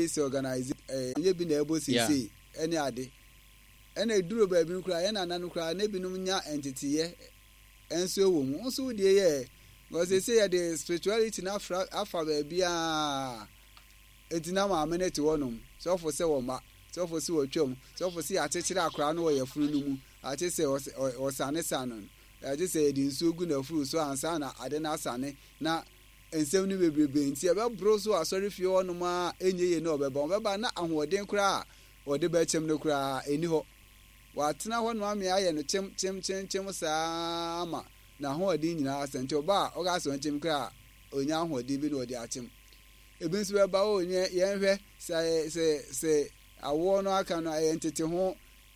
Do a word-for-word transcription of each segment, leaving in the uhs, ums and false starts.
This organization ɛnyɛ bi na ɛbɔ seesei ɛne ade. Ɛna ɛduru baabi no koraa, yɛn nana no koraa na ebinom nya nteteyɛ nso wɔ mu. Wo nso wo deɛ yɛ because seesei yɛde spirituality no afra afa baabiara. Enti na maame no te hɔnom, sɔfo sɛ wɔma, sɔfo sɛ wɔtwam, sɔfo sɛ yɛakyekyere akwaraa no wɔ yafunu no mu, agye sɛ ɔsanesane no, agye sɛ yɛde nsuo gu n'afuru so ansa na ade no asane, na nsɛm no bebrebe nti ɛbɛboro so wɔ asɔrefie hɔnom a ɛnyɛ yie na ɔbɛba. Ɔbɛba na ahoɔden koraa a ɔde bɛkyem no koraa ɛnni hɔ. Watena hɔnom ame ayɛ no kyem kyem kyem kyem saa ama n'ahoɔden nyinaa asa, nti ɔba a ɔka sɛ ɔnkyem koraa a ɔnya ahoɔden bi na ɔde akyem. Ebi nso bɛba o, nyɛ yɛnhwɛ sɛ sɛ sɛ awoɔ no aka no ɛyɛ ntete ho,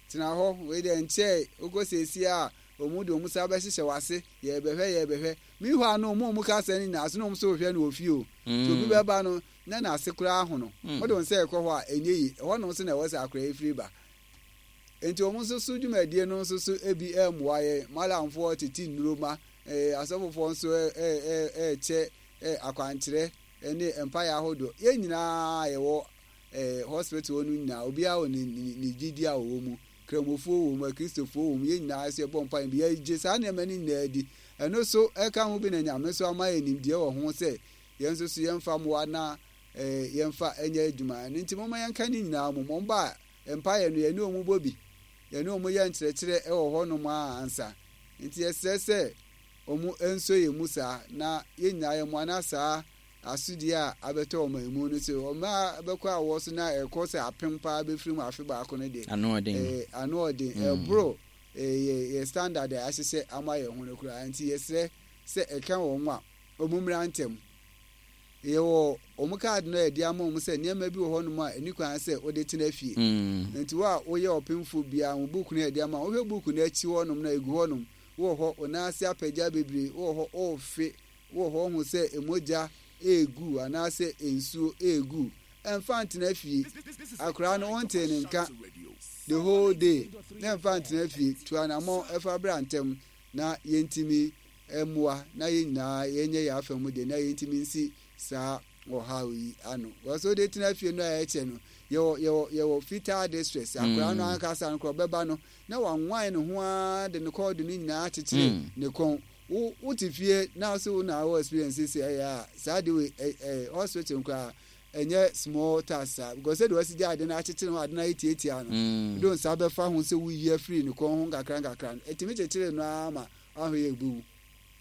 tena hɔ, wei deɛ nkyɛe, wokɔ seesie a wɔn de wɔn nsa bɛhyehyɛ w'ase, yɛrebɛhwɛ yɛrebɛhwɛ. Meanwhile no wɔn a wɔka asɛm no nyinaa so na wɔn nso rehwɛ no wɔ fie o. Nti obi bɛba no na n'ase koraa ahono. Wode wo nsa rekɔ hɔ a ɛnyɛ yie, ɛhɔ nom nso na ɛwɔ sɛ akwadaa yi firi ba. Nti wɔn nso so dwumadie no nso so ebi mmoa yɛn, malamfoɔ tete nnuro ma, eh, asɔfofoɔ nso ɛrekyɛ eh, akwankyerɛ ne mpaeɛ ahodoɔ. Yɛn nyinaa yɛwɔ eh, hospital hɔ no nyinaa, obiara wɔ ne, ne, ne gyidie a ɔwɔ mu. Kramofoɔ wɔ mu, Akristofoɔ wɔ mu, yɛn nyinaa nso yɛbɔ mpaeɛ bi. Yɛgye saa nneɛma no nyinaa di. Ɛno nso ɛka ho bi na Nyame nso ama yɛn nimdeɛ wɔ ho sɛ yɛn nso so yɛmfa mmoa na eh, yɛmfa nyɛ adwuma. Ɛno nti momma yɛnka ne nyinaa mmom. Wɔn ba a, mpaeɛ no yɛne wɔn bɔ bi. Yɛne wɔn yɛ nkyerɛkyerɛ wɔ hɔnom ara ansa. Nti yɛsrɛ sɛ wɔn nsɔ yɛn mu saa na yɛn nyinaa yɛmmoa na saa asodie a abɛtɔ ɔman mu no sɛ ɔma bɛkɔ awɔ so na ɛkɔ sɛ apem paa bɛfiri mu afe baako no deɛ, ano ɔden, eh, ano ɔden, ɛboro eh, yɛ yɛ standard a ahyehyɛ ama yɛn ho no koraa. Nti yɛsrɛ sɛ ɛka wɔn a wɔn mmra ntɛm. Yɛwɔ wɔn kaade no a yɛde ama wɔn sɛ nneɛma bi wɔ hɔnom a ɛni kwan sɛ wode tena fie. Nti wo a woyɛ ɔpemfo biara, wo book no a yɛde ama wo, wohwɛ book no akyi hɔnom na egu hɔnom, wowɔ hɔ, wo nan ase apagya bebree, wowɔ hɔ, worefe, wowɔ hɔ wohu sɛ mogya regu anaasɛ nsuo regu. Ɛmfa ntena fie. Akwadaa no wontee ne nka the whole day na ɛmfa ntena fie. Tu anammɔn fa bra ntɛm na yɛntumi mmoa na yɛn nyinaa yɛnyɛ yɛn afa mu deɛ na yɛntumi nsi saa ɔhaw yi ano. Because wode tena fie no a ɛkyɛ no, yɛwɔ yɛwɔ yɛwɔ fetal distress. Akwadaa no ankasa no koraa ɔbɛba no na wanwan ne ho ara de ne kɔɔdo no nyinaa akyekyere ne kɔn. Wo wote fie na so wo na wɔ experience sɛ ɛyɛ a saa de wei ɛ ɛ hospital koraa ɛnyɛ small task saa, because sɛdeɛ wasi gya ade no akyekyere ho, ade no ayɛ tiatia no, wode wo nsa bɛfa ho sɛ woyi afiri ne kɔn ho nkakra nkakra no, ɛtumi kyekyere no ara ma ahwɛ yɛ ɛbɛwu.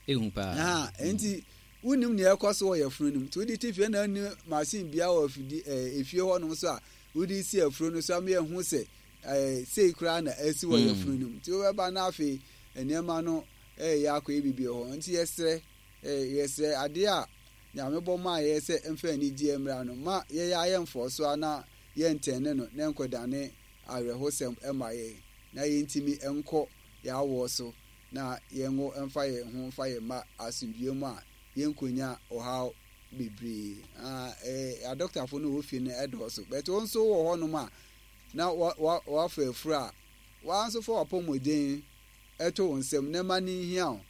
Ehu paa. Ha, nti wonim nea ɛkɔ so wɔ yɛfunu no mu. Nti wode te fie na wonni machine biara wɔ afidi ɛɛ efie hɔnom so a wode si afuro no so ama yɛahu sɛ ɛɛ sei koraa na asi wɔ yɛfunu no mu. Nti wobɛba na afei nneɛma no ɛreyɛ akɔyɛ biribi wɔ hɔ. Nti yɛsrɛ ɛɛ yɛsrɛ adeɛ a Nyame bɔ maa yɛ sɛ mfa anigyeɛ mmra no, ma yɛyɛ ayɛ mfɔɔso a na yɛntɛne no na ɛnkɔdane awerɛhosɛm mma yɛn, na yɛntumi nkɔ yɛn awoɔ so na yɛnwo mfa yɛn ho mfa yɛn mma asomdwoeɛ mu a yɛnkɔnya ɔhaw bebree. Ah, eh, adɔktafo no wɔ fie no ɛdɔɔso, but wo nso wɔ hɔnom a na wa wa wafa afuru a, wa nso fa w'apɔmuden to wo nsam na ma no nhia wo.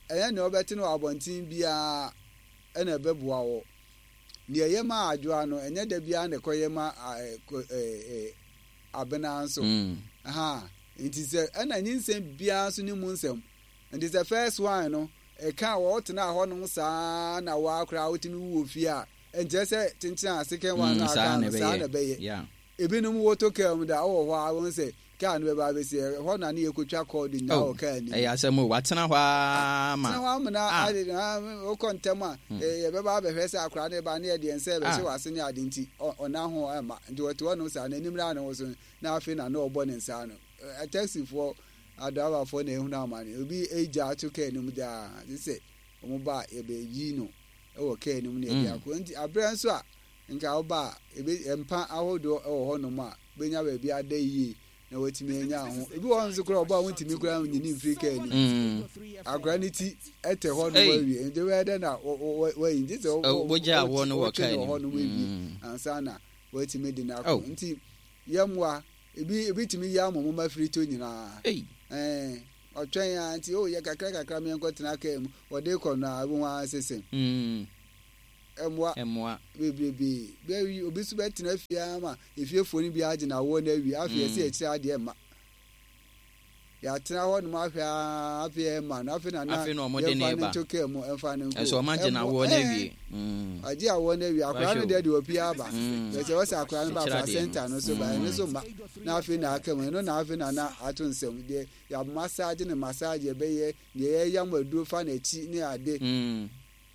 Ɛnyɛ nea wobɛte no wɔ abɔnten biara na ɛbɛboa wo. Nea ɛyɛ ma adwoa no, ɛnyɛ da biara na ɛkɔyɛ ma abena nso. Aha, nti sɛ ɛna nyinsɛn biara nso ne mu nsɛm. Nti sɛ first one no, ɛka a wɔtenaa hɔnom saa na waa koraa wotumi wu wɔ fie a, ɛnkyerɛ sɛ kyenkyen a second one no Mm, aka saa na no saa ɛbɛyɛ. na ɛbɛyɛ. Yeah. Ebinom woto kaa mu da, wowɔ hɔ a wohu sɛ kaa no bɛba abɛsi ɛhɔ na ne yɛkɔtwa kɔɔdo nyinaa Oh, wɔ kaa no mu. ɛyɛ asɛm o. Watena hɔ ara ma. Tena hɔ amena Ah. ade no, wokɔ ntɛm a yɛbɛba abɛhwɛ sɛ akwadaa no reba ne yɛde yɛn nsa rebɛhyɛ Ah. w'ase ne ade nti ɔ- ɔnna ho mma. Nti ɔte hɔnom saa, n'anim na ne ho so no, na afei na na ɔbɔ ne nsa ano. Ɛ- Taxifoɔ, adraivafoɔ na ehunu amane. Obi agya ato kaa no mu daa, gye sɛ wɔn ba a yɛbɛyi no wɔ kaa no mu na yɛde akɔ. Nti aberɛ nso a nka woba a, ebe mpa ahodoɔ wɔ hɔnom a bɛnya baabi ada yie na watumi anya ho. Ebi wɔ hɔ nso koraa ɔba a wontumi koraa nyini mfiri kaa no mu. Mm. Akwadaa no ti ɛtɛ hɔ nom Ei. awie. Nti wobɛyɛ dɛ na wo- wo- wo- wayi. Nti sɛ wo- Ɛ, wo- wogya awoɔ no wɔ wotwe kaa no wɔ no mu. hɔ nom awie Mm. ansa na watumi de no akɔ. Oh. Nti yɛmmoa. Ebi ebi tumi yi ama mo afiri to nyinaa. Ei. Ɛɛ ɔtwɛn a nti o yɛ kakra kakra meɛnkɔ tena kaa mu. Wɔde kɔ no a ebi ho ara sese. Mm. Ɛmmoa. Ɛmmoa. Bebrebe. Bɛwi obi nso bɛtena fie ama efiefoɔ no bi agye na awoɔ no awie. Afei yɛsɛ yɛkyerɛ adeɛ mma. Yɛatena hɔ nom ahwɛ aa, afei ɛmma no. Afei na na Afei na ɔmo de yɛmfa ne no ba. nto kaa mu, ɛmfa no nkɔ. Ɛsɛ ɔmo agye na Ɛmmoa. awoɔ no Ɛɛ. awie. Mm. Agye awoɔ no awie. Akwadaa no Wahwɛ o. deɛ deɛ ɔpie aba. Mm. Yɛsɛ wɔsɛ akwadaa no ba Ɛkyerɛ adeɛ no. placenta no so ba, ɛno so ma. Na afei na aka mu. Ɛno na afei na na ato nsɛm. Deɛ yɛ massage ne massage yɛbɛyɛ, deɛ yɛyam aduro fa n'akyi ne ade. Mm.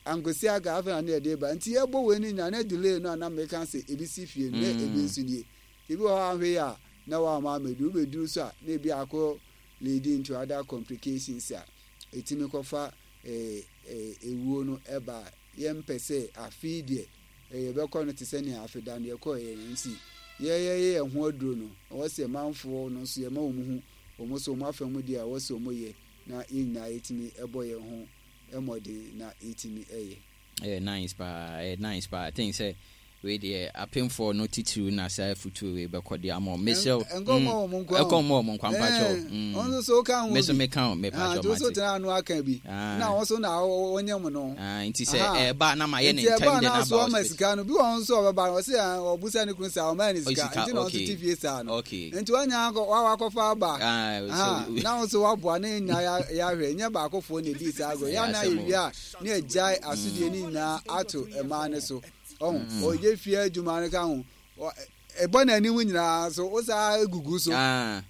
Ankosi aga afei na ne yɛde ba. Nti yɛbɔ wei no nyinaa na delay no a na meka sɛ ebi si fie no na Mm. ebi nso nie. Ebi wɔ hɔ a ahwɛ yi a na wama ameduru. Wobɛduru so a na ebi akɔ leading into other complications a ɛtumi kɔfa eh, eh, ewuo no ɛba a yɛmpɛ sɛ afei deɛ eh, yɛbɛkɔ no te sɛ nea afeda no yɛkɔɔ yɛ no. Nti yɛyɛyɛ yɛn ho aduro no, ɛwɔ sɛ manfoɔ no nso yɛma wɔn ho wɔn nso wɔn afa mu deɛ a ɛwɔ sɛ wɔn yɛ na yɛn nyinaa yɛtumi ɛbɔ yɛn ho ɛmɔden na yɛtumi ɛyɛ. Ɛyɛ nice paa, ɛyɛ nice paa. I think sɛ wei deɛ apemfoɔ no titiriw na saa afutuo wei bɛkɔ de ama wɔn. Mesrɛ wo. Ɛnkɔ mma wɔn nko ara. Ɛkɔ mma wɔn nko ara, mpakyɛw. Ɛɛ, Mm. ɔno nso so ka ho Me nso bi. meka ho, Ah, mepakyɛw nti wo nso mate. tena ano aka bi. Ah. Na wɔn nso na wɔnyɛ mu no. Ah, nti sɛ Aha. ɛba na ma yɛ ne Nti ɛba ntɛm de na na so aba ɔma hospital. sika no bi wɔ hɔ nso a ɔbɛba no ɔsɛ ah, ɔbusa ne kunu saa ɔma ne Oh, sika sika, nti na ɔnso okay. te fie saa no. Okay. Nti wanya akɔ wa wakɔfa aba. Ah, Aha, so na wo nso waboa ne nyinaa yɛ ahwɛ nyɛ baakofoɔ na edi saa agorɔ. Ɛyɛ Yɛ na asɛm o. yɛwie a ne agyae asodie ne nyinaa ato mmaa no so. Ɔho ɔyɛ fie adwuma no ka ho. Ɔ- ɛbɔ n'anim nyinaa so wo saa egugu so. Ah,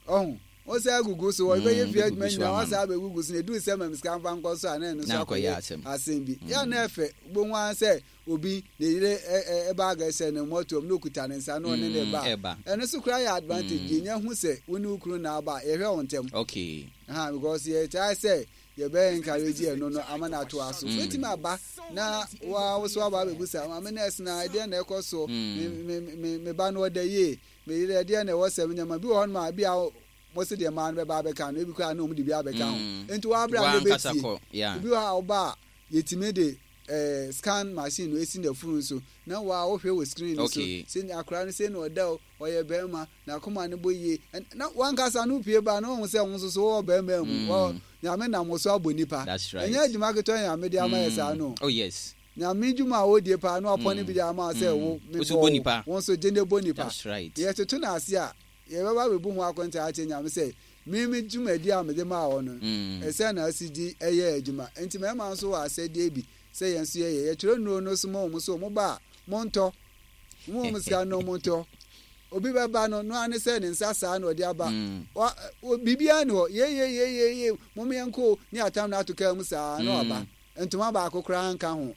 Ɔho wo saa egugu so ɔbɛyɛ Mm, fie bɛgugu adwuma so nyinaa ama wa saa bɛgugu so na edu sɛ mam sika mfa nkɔ so a na ɛno nso Na akɔyɛ akɔyɛ asɛm. asɛm bi. Yɛ na ɛfɛ wobɛhu ara sɛ obi ne yere ɛ- ɛ- ɛbaage hyɛ ne mmɔtoam na okuta ne nsa na ɔne ne Mm, ba. ɛba. Ɛno nso koraa yɛ advantage. Mm. Yɛnya hu sɛ wo ne wo kunu na aba a, yɛhwɛ wo ntɛm. Okay. Ha, because yɛtaa sɛ yɛbɛyɛ encourage ɛno no ama no atoa so. Mm. Wetumi aba na wa wo so aba abɛbusa maame nurse na ɛdeɛ na ɛkɔ so, Mm. me me me me ba no ɔda yie, me yere ɛdeɛ na ɛwɔ sɛ nneɛma bi wɔ hɔnom a bi a mo se deɛ mmaa no bɛba abɛka no, ebi koraa na ɔmo de bi abɛka ho. Mm. Nti wabra na Wankasa ebɛtie kɔ. Yeah. obi wɔ hɔ a ɔba a yɛtumi de ɛɛ scan machine no esi n'afuru so na wa wohwɛ wɔ screen no so Okay. sɛ akwaraa no sɛ na ɔda o, ɔyɛ bɛrima na akoma no bɔ yie. Ɛn- na wankasa no pie ba na wɔn sɛ wɔn nso so wɔwɔ bɛrima mu. Mm. Wɔ Nyame nam wo so abɔ nipa. That's right. Ɛnyɛ adwuma ketewa Nyame de ama yɛ saa no. Oh yes. Nyame dwuma a wɔdie paa na wapɔ ne Mm. bi de ama wo sɛ Mm. wo Wo nso mebɔ bɔ wo nipa. wo nso gye ne bɔ nipa. That's right. Yɛtoto no ase a yɛbɛba bɛbu ho akɔnta akyɛ Nyame sɛ mimi dwumadi a mede maa wɔ no Mm. ɛsɛ na asi di ɛyɛ adwuma. Nti mmarima nso wɔ asɛdeɛ bi sɛ yɛn nso yɛyɛ yɛtwerɛ nnuro no so ma wɔn so wɔn ba a montɔ mo wɔn sika no montɔ. Obi bɛba no no ane sɛ ne nsa saa na ɔde aba. Mm. Wa o- biribiara ni hɔ yeyeyeyeye mom yɛn ko ne atam na ato kaa mu saa na waba. Ntoma baako koraa nka ho,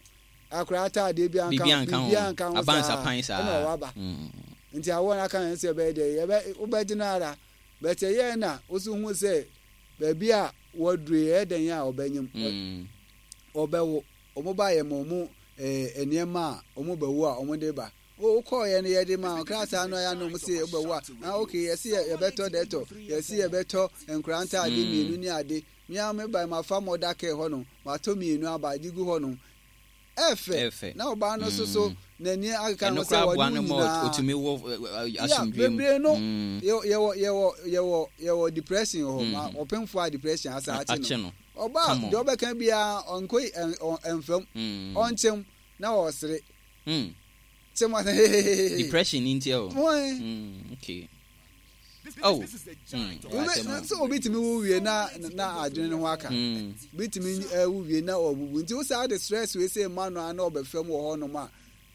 akora ataadeɛ bi anka Biribi ho, anka ho. biribiara nka ho Abansapan saa. ɛna ɔwaba. Mm. Nti awɔ no aka yɛn sɛ ɛbɛyɛ dɛ yɛbɛ wobɛgye no ara bɛtɛ yɛn na woso hu sɛ baabi a wɔduru yɛ dɛn a ɔbɛnyim Mm. ɔbɛwo. Ɔmo ba yɛ ma ɔmo ɛɛ nneɛma a ɔmo bɛwo a ɔmo de ba o wokɔɔ yɛ no yɛde ma krataa no ayɛ no ɔmo se wobɛwo a, ah, okay, yɛsi yɛ yɛbɛtɔ dɛtɔ, yɛsi yɛbɛtɔ nkora ntaade Mm. mmienu ne ade. Mia me ba ma fa mother care hɔ nom matɔ mmienu aba de gu hɔ nom ɛfɛ. Ɛfɛ. Na ɔbaa no nso so Mm. n'ani akeka ho Ɛno sɛ koraa boa wɔne no wo ma nyinaa otumi wɔ ɛ, ɛ, ya asomdwoe mu. bebree no. Mm. yɛwɔ yɛwɔ yɛwɔ yɛwɔ yɛwɔ depression wɔ hɔ ma Mm. ɔpemfo a depression asa akye Akye no no. ɔbaa Come on. deɛ ɔbɛka biara ɔnkɔ ɛn- ɔ- ɛnfam Mm. ɔnkyɛm na ɔsere Mm. kyɛm ɔsɛ hehehehe. Depression ni nti o. Wɔn Mm. Okay. Oh. Mm. Wobe- Asɛm o. sɛ obi tumi wo wie na na adwene ne ho aka. Mm. Bi tumi ɛwo wie na ɔbubu nti wosaa de stress wei sɛ ma no a na ɔbɛfam wɔ hɔnom a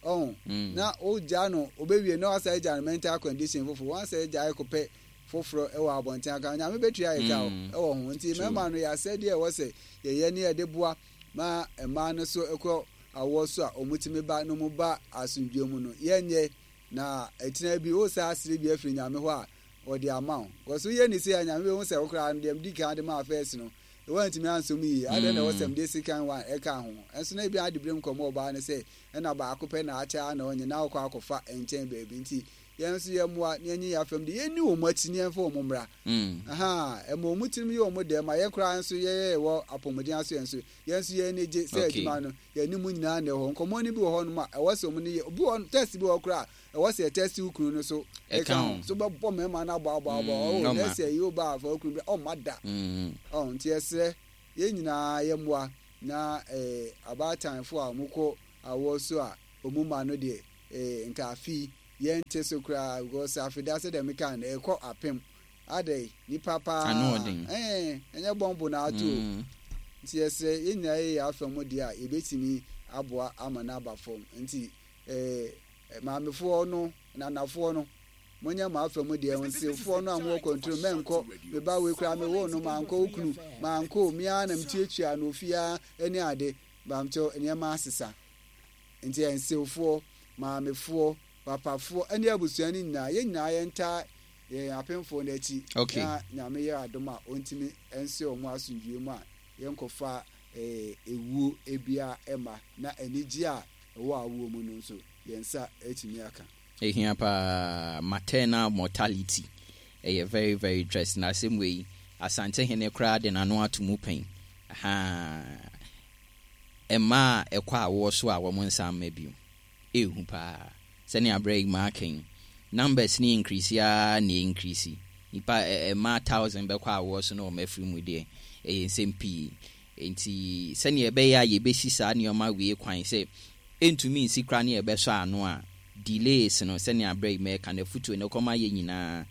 ɔho Mm. na wogya no obɛwie na wasa agya no mental condition foforɔ wansa agya akɔpɛ foforɔ ɛwɔ abɔnten aka Nyame bɛtua yɛ ka o Mm. ɛwɔ ho. Nti True. mmarima no yɛ asɛdeɛ ɛwɔ sɛ yɛyɛ ne yɛde boa ma mmaa no so ɛkɔ awoɔ so a ɔmo ba na ɔmo ba asomdwe mu no yɛnyɛ na ɛkyina bi wo saa asere bi afiri Nyame hɔ a ɔde ama wo kɔso yɛ ne se a Nyame bɛhu sɛ wo koraa no deɛ mdi kan de maa first no wɔntumi ansom yie adɛn na ɛwɔ sɛ mde second one ɛka ho ɛnso na ebi ade berɛ mu kɔmmɔ ɔbaa no sɛ ɛna baako pɛ na akyɛ a na ɔnyɛ na wokɔ akɔfa nkyɛn baabi. Nti yɛn nso yɛmmoa na yɛnyi yɛn afam de yɛnni wɔn akyi na yɛmfa wɔn mmra. Mm. Aha, ɛma wɔn tirim yɛ wɔn dɛ ma yɛn koraa nso yɛyɛ wɔ apɔmuden aso yɛn nso yɛn nso yɛn ani gye sɛ Okay. adwuma no yɛn mu nyinaa na ɛwɔ hɔ. Nkɔmmɔ no bi wɔ hɔ nom a ɛwɔ sɛ wɔn ne yɛ obi wɔ test bi wɔ hɔ koraa a ɛwɔ sɛ yɛ test wo kunu no so. Ɛka ho. So bɛbɔ mmarima no abɔ abɔ abɔ. Mm, ɔwɔ ɔma. nɛɛsɛ yi wo ba afa wo kunu bi ɔmma da. Mm. Ɔ nti yɛsrɛ yɛn nyinaa yɛmmoa na ɛɛ abaatan a wɔkɔ awoɔ so a ɔmu ma no deɛ, eh, nka afi yɛnte so koraa, because afeda sɛ deɛ meka no, ɛkɔ apem adɛ nipa paa. Ano ɔden. Ɛɛ, ɛnyɛ bɔmbo na ato o. Mm. Nti yɛsrɛ yɛn nyinaa yɛyɛ afa mu deɛ a yɛbɛtumi aboa ama no aba fam. Nti ɛɛ maamefoɔ no, nanafoɔ no, monyɛ mo afa mu deɛ. Nsefoɔ no a mowɔ control, mɛnkɔ meba wei koraa mewoo no mankɔ, wo kunu mankɔ o, mea na metuatua no ofiaa ne ade bamkyɛw. Nneɛma asesa, nti nsewfoɔ, maamefoɔ, papafoɔ ne abusua no nyinaa, yɛn nyinaa yɛntaa yɛn apemfoɔ no akyi Okay. na Nyame yɛ adom a ɔntumi nse ɔmo asomdwie mu a yɛnkɔfa eh, ewuo ebia ɛma na anigye a ɛwɔ awoɔ mu no nso yɛn nsa atumi aka. Ehia paa. Maternal mortality ɛyɛ very very interesting. Na asɛm wei, Asantehene koraa de n'ano ato mu pɛn. Ahaa, mmaa a ɛkɔ awoɔ so a wɔn nsa mma bio, ehu paa. Sɛnea abere yi maa kɛn numbers ne increase ara na increase, nipa ɛ mmaa thousand bɛkɔ awoɔ so na wɔn afiri mu deɛ, ɛyɛ nsɛm pii. Nti sɛnea ɛbɛyɛ a yɛbɛsi saa nneɛma wei kwan sɛ ɛntumi nsi koraa ne yɛbɛsɔ ano a delays no, sɛnea abere yi mɛka no, afutuo no kɔma yɛ nyinaa.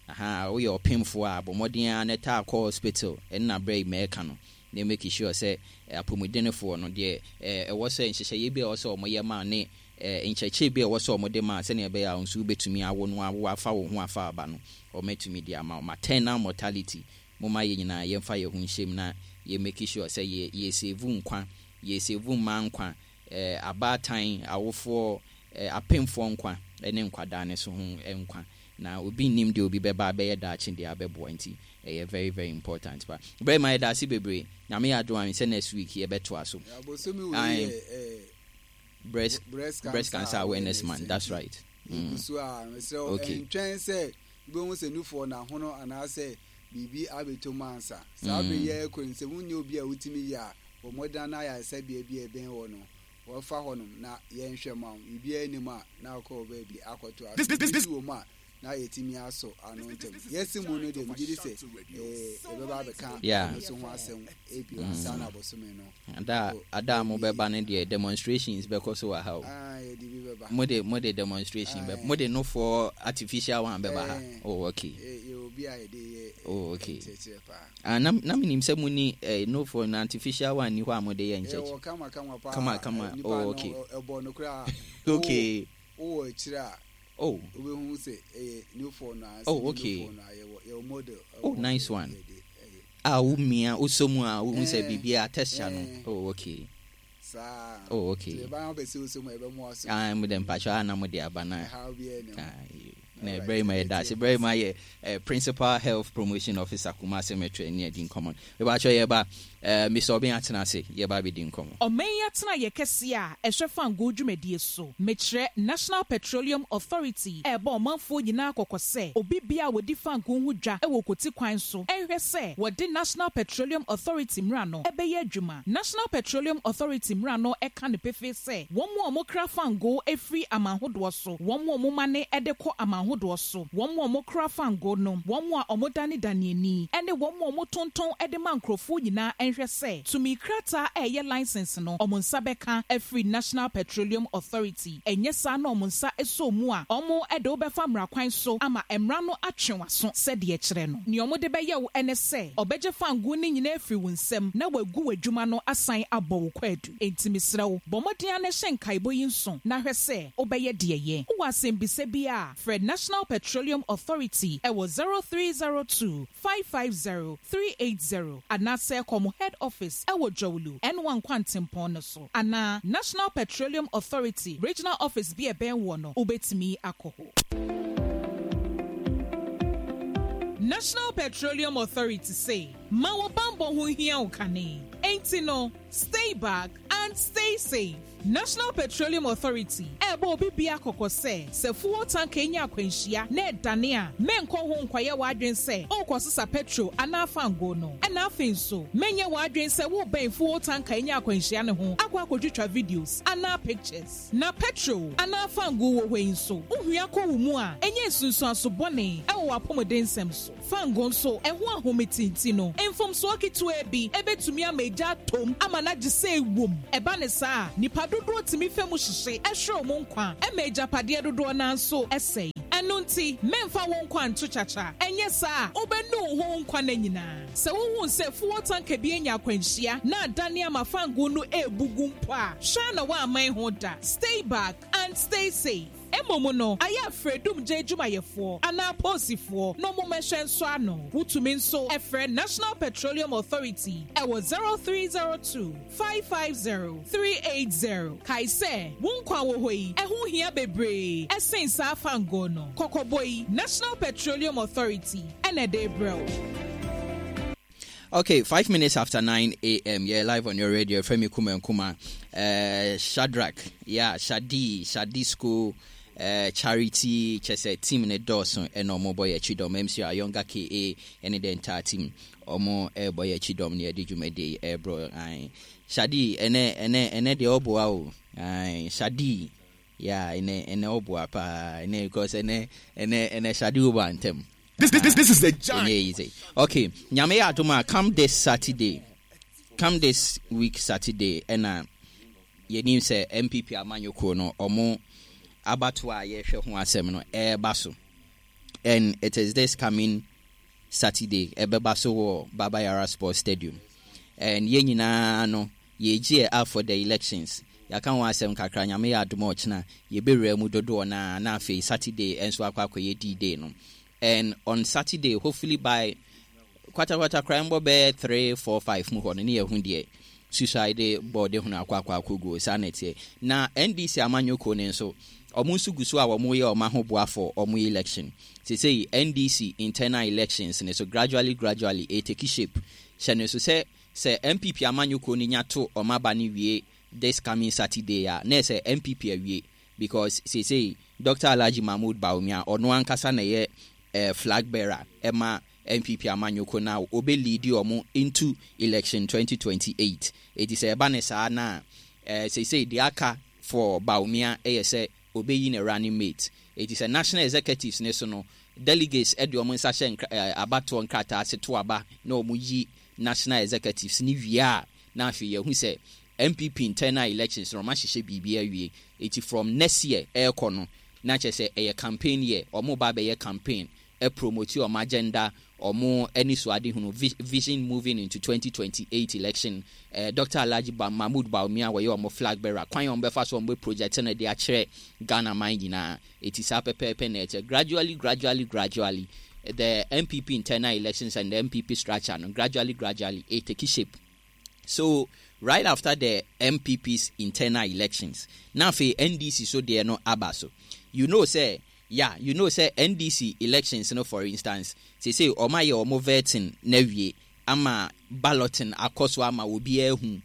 Aha, woyɛ ɔpemfoɔ a, bɔ mmɔden a na taa kɔ hospital. Ɛnna abere yi mɛka no na make sure sɛ apɔmudenfoɔ no deɛ ɛwɔ sɛ nhyehyɛeɛ bi a ɛwɔ sɛ wɔyɛ ma ne nkyerɛkyerɛ bi a ɛwɔ sɛ wɔde ma sɛnea ɛbɛyɛ a nso wobɛtumi awo no, awo afa wo ho afa aba no, wɔmatumi de ama wo. Maternal mortality, moma yɛ nyinaa yɛmfa yɛn ho nhyɛm na yɛ make sure sɛ yɛ yɛ save nkwa, yɛ save mmaa nkwa, ɛɛ abaatan, awofoɔ, ɛɛ apemfoɔ nkwa ɛne nkwadaa ne so ho nkwa. Na obi nnim deɛ obi bɛba abɛyɛ daakye deɛ abɛboa, nti ɛyɛ very very important pa. Bɛrɛ ma yɛda ase bebree. Nyame yɛ adom a, sɛ next week yɛbɛtoa so. Abosomi wei yɛ ɛɛ breast breast cancer, breast cancer awareness month, that's right. Mm. So a mesrɛ wo, Okay. ɛntwɛn sɛ wobɛhu sɛ nufoɔ n'ahono anaasɛ biribi abɛtɔ mu ansa. Saa bere yɛ kɔ no, sɛ wonyɛ obi a wotumi yɛ a, bɔ mmɔden na ayaresabea bi a ɛbɛn hɔ no, wɔfa hɔnom na yɛnhwɛ ma wo. Biribiara anim a na wokɔ wɔ baabi akɔto aso. Biribi wɔ mu a na yɛtumi asɔ ano ntɛm. Yɛsi mu no deɛ, megye di sɛ ɛɛ yɛbɛba abɛka Yeah. ɛno so ho asɛm ebio ansa na abosome no. Ada ada a mobɛba no deɛ, demonstrations bɛkɔ so wɔ ha o. Ah, yɛde bi bɛba. Mode mode demonstration bɛ Aye. mode nofoɔ artificial one bɛba ha? Eh. Oh, okay. Yɛ yɛ obi a yɛde yɛ Oh, okay. nkyerɛkyerɛ paa. Ah, na na menim sɛ muni eh, nofoɔ no artificial one ni hɔ a mode yɛ nkyerɛkyerɛ. Yɛwɔ kama kama paa. Kama kama. Nipa Oh, no, okay. ɛ- ɛbɔ no koraa. Okay. Wowɔ akyire a oh wobɛhu sɛ ɛyɛ nufoɔ no a. Oh, okay. Nufoɔ no a yɛwɔ yɛwɔ model. Oh, ɛwɔ nice hɔ one. yɛde ɛyɛ. A womia wosɔ mu a wohu sɛ Eh, biribi a texture no. eh. Oh, okay. Saa. Oh, okay. Nti ɛbaa wopɛ sɛ wosɔ mu a, ɛbɛmoa so. Ah, mode mpakyɛ a na mode aba na Ɛhaw biara nni ho. Ah, na Alright. very much that's very much uh, principal health promotion officer, Kumase Metro, ne adi nkɔmmɔ. Mebakyɛ yɛba uh, Mister Obin atena ase, yɛba bɛdi nkɔmmɔ. Ɔman yi atena yɛ kɛseɛ a ɛhwɛ fangoo dwumadie so, mekyerɛ National Petroleum Authority, ɛrebɔ ɔmanfoɔ nyinaa kɔkɔ sɛ obi bia a wɔdi fangoo ho dwa ɛwɔ koti kwan so ɛnhwɛ sɛ wɔde National Petroleum Authority mmara no ɛbɛyɛ adwuma. National Petroleum Authority mmara no ɛka no pefee sɛ wɔn mu a wɔkra fangoo efiri aman ahodoɔ so, wɔn mu a wɔma ne ɛde kɔ aman ahodoɔ so, wɔn mu a wɔkra fangoo no, wɔn mu a wɔdanedane ani, ɛne wɔn mu a wɔtontɔn ɛde ma nkurɔfoɔ nyinaa ɛnhwɛ sɛ tumi krataa a ɛyɛ license no, wɔn nsa bɛka afiri National Petroleum Authority. Ɛnyɛ saa na wɔn nsa ɛsɔ mu a, wɔn ɛde wobɛfa mmara kwan so ama mmara no atwe w'aso sɛdeɛ kyerɛ no. Nea wɔde bɛyɛ wo ɛne sɛ ɔbɛgye fangoo no nyinaa afiri wo nsam na wagu w'adwuma no asan abɔ wo kwaadu. Enti mesrɛ wo, bɔ mmɔden a na hyɛ nkaebɔ yi nso na hwɛ sɛ wobɛyɛ deɛ yɛ. Wowɔ asɛmbisa bi a, frɛ National Petroleum Authority ɛwɔ zero three zero two five five zero three eight zero anaasɛ kɔmo head office ɛwɔ Dzorwulu N one Kwantempɔn no so, anaa National Petroleum Authority regional office bi a ɛbɛn wɔ no, wobɛtumi akɔ hɔ. National Petroleum Authority se ma wo bambɔ ho hia wo kane, enti no stay back and stay safe. National Petroleum Authority ɛbɔ obi bia kɔkɔ sɛ sɛ fuel tanker nya akwanhyia na ɛdane a, mɛnkɔ ho nkɔyɛ w'adwen sɛ wokɔsesa petrol anaa fango no. Ɛna afei nso mɛnyɛ w'adwen sɛ wobɛn fuel tanker nya akwanhyia ne ho akɔ akɔtwitwa videos anaa pictures. Na petrol anaa fango wɔ hɔ yi nso, wohua kɔ wo mu a, ɛnyɛ nsunsuanso bɔne ɛwɔ w'apɔmuden nsɛm so. Fango nso ɛho ahome tinti no, mfomsoɔ ketewa bi ɛbɛtumi ama egya atom ama ama no agye sɛ ewom. Ɛba ne saa a, nipa dodoɔ tumi fɛ mu hyehye ɛhwere ɔmo nkwa ɛma agyapadeɛ dodoɔ naa nso ɛsɛe. Ɛno nti, mɛmfa wo nkwa nto kyakya. Ɛnyɛ saa a, wobɛnu wo ho nkwa no nyinaa. Sɛ wohu sɛ fuel tanker bi anya akwanhyia na adane ama fango no ebu gu mpo a, hwɛ na woaman ho da. Stay back and stay safe. Mmom no, ayɛ afrɛdum gye adwumayɛfoɔ anaa apolisifoɔ na ɔmo mmɛhwɛ nso ano. Wotumi nso ɛfrɛ National Petroleum Authority ɛwɔ zero three zero two five five zero three eight zero. Kae sɛ wo nkwa wɔ hɔ yi, ɛho hia bebree ɛsen saa fango no. Kɔkɔbɔ yi, National Petroleum Authority ɛna ɛde brɛ wo. Okay, five minutes after nine a m. Yeah, live on your radio. Femi Kuma Kuma. Uh, Shadrach, yeah, Shadi, Shadi School, uh, Charity, kyerɛ team ne dɔɔso ɛna ɔmo bɔ yɛ akyi dɔm. M C Ayonga K A ɛne the entire team. Ɔmo ɛbɔ yɛ akyi dɔm ne yɛde dwumadie ɛbrɔ. Aye. Shadi, ɛnɛ ɛnɛ ɛnɛ deɛ ɔboa o. Aye, Shadi. Yeah, ɛnɛ ɛnɛ ɔboa paa. Ɛnɛ because ɛnɛ ɛnɛ ɛnɛ Shadi wɔ ntɛm. This, this, this is the giant. Ɛnyɛ easy. Okay, Nyame yɛ adom a, come this Saturday, come this week Saturday, ɛna yɛnim sɛ N P P amanyɔkuo no ɔmo abatoɔ a yɛhwɛ ho asɛm no ɛreba so, and it is this coming Saturday ɛbɛba so wɔ Baba Yara Sports Stadium, and yɛn nyinaa no yɛgye up for the elections. Yɛaka ho asɛm kakra. Nyame yɛ adom a, ɔkyena yɛbɛwura mu dodoɔ naa na afei Saturday ɛnso akɔ akɔyɛ D-Day no. And on Saturday, hopefully by kwatakwata koraa mbɔ bɛyɛ three four five mu hɔ no, ne yɛho deɛ suicide board ho no akɔ akɔ akɔguo. Saa na ɛteɛ. Na N D C amanyɔkuo no nso, ɔmo nso gu so a wɔn yɛ ɔmo ahoboa for ɔmo election. Sesei N D C internal elections ne so gradually gradually ɛtake shape. Hyɛ ne so sɛ sɛ N P P amanyɔkuo no nya to ɔmo aba no wie this coming Saturday a, na ɛsɛ N P P awie, because sesei Doctor Alhaji Mahmood Bawumia, ɔno ankasa na ɛyɛ eh, flag bearer ɛma N P P amanyɔkuo na ɔbɛ lead ɔmo into election twenty twenty-eight. Eti sɛ ɛba ne saa na eh, seesei deɛ aka for Bawumia ɛyɛ sɛ ɔbɛyi ne running mate. Eti sɛ national executives ne so no, delegates ɛde ɔmo nsa hyɛ nkra eh, abatoɔ nkrataa ase to aba na ɔmo yi national executives ne wie a, na afei yɛhu sɛ N P P internal elections no, ɔmo ahyehyɛ biribi awie. Eti from next year ɛrekɔ no, na kyerɛ sɛ ɛyɛ campaign year. Ɔmo ba bɛyɛ campaign, ɛpromote ɔmo agenda, ɔmo ani so ade hunu vision moving into twenty twenty-eight election. eh, Doctor Alhaji ba Mahmood Bawumia wɔyɛ ɔmo flag bearer, kwan a ɔmo bɛfa so ɔmo bɛ project no de akyerɛ Ghana man nyinaa. Eti saa pɛpɛɛpɛ na ɛkyɛ. Gradually gradually gradually, the N P P internal elections and the N P P structure no, gradually gradually it take shape. So right after the N P P's internal elections, na afei N D C so deɛ no aba so. You know say, yeah, you know say N D C elections no, for instance, say say ɔmo ayɛ ɔmo vetting na wie ama balloting akɔ so ama obiara ehu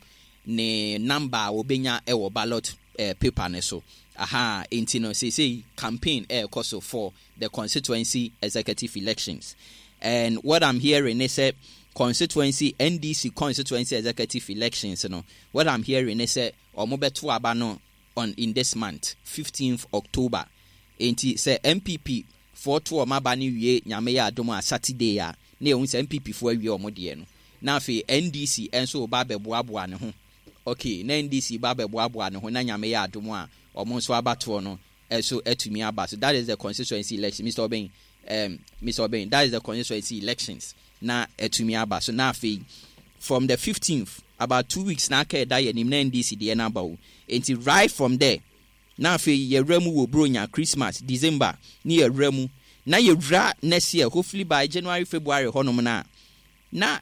ne number a obenya ɛwɔ ballot eh, paper ne so. Aha, nti no say say campaign ɛɛkɔ so for the constituency executive elections. And what I'm hearing is sɛ constituency N D C constituency executive elections no, what I'm hearing is sɛ ɔmo bɛto aba no on in this month, fifteenth October. Nti sɛ N P P foɔ to ɔmo aba no wie, Nyame yɛ adom a, Saturday a, na yɛhu sɛ N P P foɔ awie ɔmo deɛ no, na afei N D C nso ba abɛboaboa ne ho. Okay, na N D C ba abɛboaboa ne ho na Nyame yɛ adom a, ɔmo nso abatoɔ no ɛso atumi aba so. That is the constituency election. Mister Obeng, um, Mister Obeng, that is the constituency elections na atumi aba so. Na afei from the fifteenth, about two weeks na aka ɛda yɛ nim na N D C deɛ n'aba o. Nti right from there, na afei yɛwura mu wɔ Bronya, Christmas, December ne yɛwura mu na yɛwura next year, hopefully by January, February hɔnom na na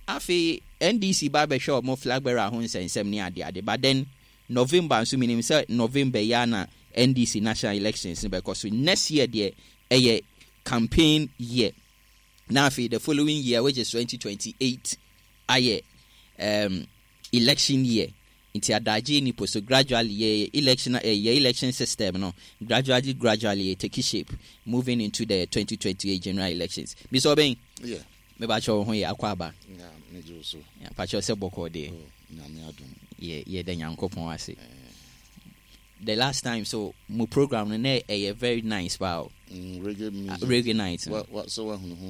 afei N D C ba bɛhwɛ ɔmo flag bearer ho nsɛnsɛm ne adeade. But then November nso, menim sɛ November yi a na N D C national elections no bɛkɔ so. Next year deɛ, ɛyɛ campaign year. Na afei the following year, which is twenty twenty-eight, ayɛ um, election year. Nti adagye nipo so gradually yɛ election, eh, yɛ election system no gradually gradually yɛ take shape moving into the twenty twenty-eight general elections. Mister Obeng. Yeah. Mebakyɛ wo ho yɛ, akɔ aba. Yeah, megye wo so. Pakyɛ sɛ bɔkɔɔ deɛ? Oh, Nyame adom. Yɛ yɛda Nyankopɔn ase. The last time so mo program no na ɛyɛ very nice paa o. Mm, reggae music. Reggae night no. Wa, wa, sɛ woahunu ho.